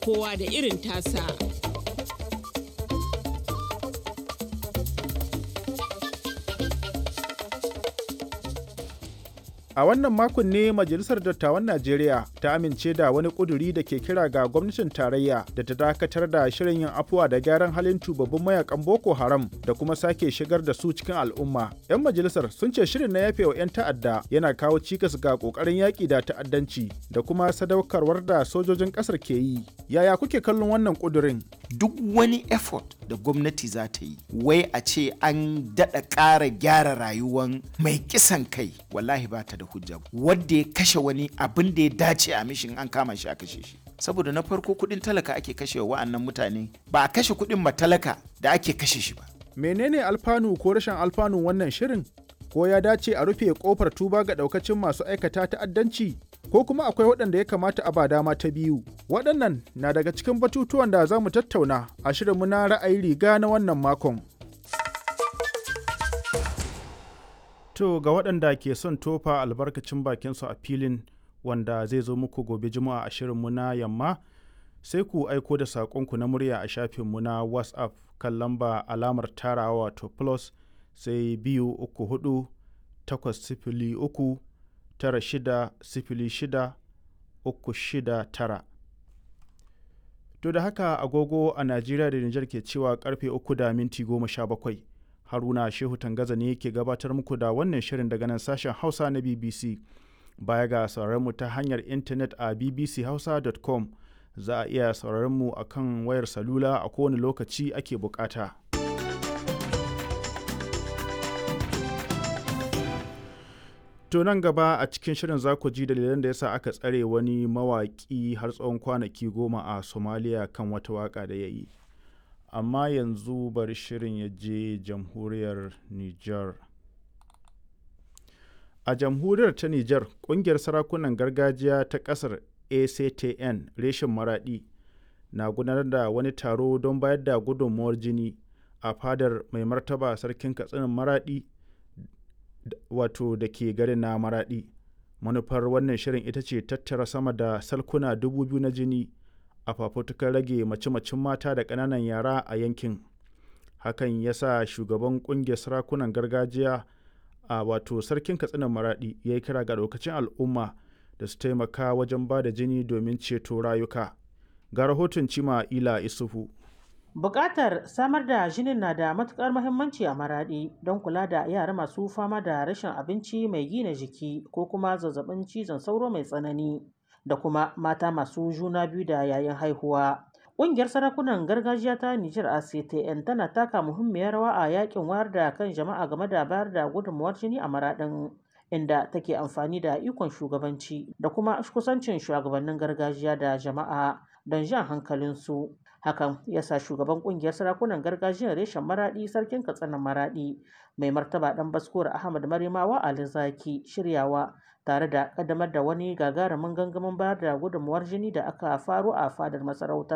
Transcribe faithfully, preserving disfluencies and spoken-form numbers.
Kowa da irin tasa. A wannan makon ne Majalisar Dattawan Najeriya ta amince da wani ƙuduri da ke kira ga gwamnatin tarayya da ta dakatar da shirin yin afuwa da gyaran halin tubabbin mayakan Boko Haram da kuma sake shigar da su cikin al'umma. 'Yan majalisar sun ce shirin na yafewa 'yan ta'adda yana kawo cikas ga ƙoƙarin yaƙi da ta'addanci da kuma sadaukarwar da sojojin ƙasar ke yi. Yaya kuke kallon wannan ƙudurin? Duk wani effort da gwamnati za ta yi, wai a ce an daɗa ƙara gyara rayuwan mai kisan kai, wallahi ba ta da hujja. Wanda ya kashe wani abin da ya dace a mishin an kama shi a kashe shi. Saboda na farko kuɗin talaka ake kashe wa'annan mutane, ba a kashe kuɗin matalaka da ake kashe shi ba. Menene alfanu ko rashin alfanun wannan shirin? Ko ya dace a rufe kofar tuba ga ɗaukacin masu aikata ta'addanci? Ko kuma akwai waɗanda ya kamata a ba dama ta biyu? Waɗannan na daga cikin batutuwan da za mu tattauna a shirinmu na ra'ayi riga na wannan makon. To ga waɗanda ke son tofa albarkacin bakinsu a filin wanda zai zo muku gobe Juma'a a shirinmu na yamma sai ku aiko da saƙonku na murya a shafinmu na WhatsApp kan lamba alamar tarawa wato plus sai biyu uku hudu takwas sifili uku tara shida sifili shida uku shida tara. To da haka agogo a Najeriya da Nijar ke cewa karfe uku da minti goma sha bakwai. Haruna Shehu Tangaza ne ke gabatar muku da wannan shirin daga nan sashen Hausa na B B C. Baya ga sauraron mu ta hanyar intanet a b b c hausa dot com za a iya sauraron mu a kan wayar salula a kowane lokaci ake bukata. To nan gaba a cikin shirin za ku ji dalilan da yasa aka tsare wani mawaƙi har tsawon kwanaki goma a Somalia kan wata waƙa da ya yi. Amma yanzu bari shirin ya je jamhuriyar Nijar. A jamhuriyar ta Nijar, ƙungiyar sarakunan gargajiya ta ƙasar A C T N reshen Maraɗi na gudanar da wani taro don bayar da gudunmawar jini a fadar mai martaba sarkin Katsinin Maraɗi wato da ke garin na Maraɗi. Manufar wannan shirin ita ce tattara sama da salkuna dubu biyu na jini a fafutukar rage mace-macen mata da ƙananan yara a yankin. Hakan ya sa shugaban ƙungiyar sarakunan gargajiya a wato sarkin Katsinan Maraɗi ya yi kira ga ɗaukacin al'umma da su taimaka wajen ba da jini domin ceto rayuka. Ga rahoton Cima Ila Isufu. Buƙatar samar da jinin na da matuƙar muhimmanci a Maraɗi don kula da yara masu fama da rashin abinci mai gina jiki ko kuma zazzabin cizon sauro mai tsanani da kuma mata masu juna biyu da yayin haihuwa. Ƙungiyar sarakunan gargajiya ta Nijar A C T N tana taka muhimmiyar rawa a yakin wayar da kan jama'a game da bayar da gudunmawar jini a Maraɗin, inda take amfani da ikon shugabanci da kuma kusancin shugabannin gargajiya da jama'a don jan hankalinsu. Hakan ya sa shugaban kungiyar sarakunan gargajiyar reshen Maraɗi sarkin Katsinan Maraɗi mai martaba ɗan Baskuwar Ahmad Marimawa Ali Zaki shiryawa tare da ƙaddamar da wani gagarumin gangamin bayar da gudunmawar jini da aka faro a fadar masarauta.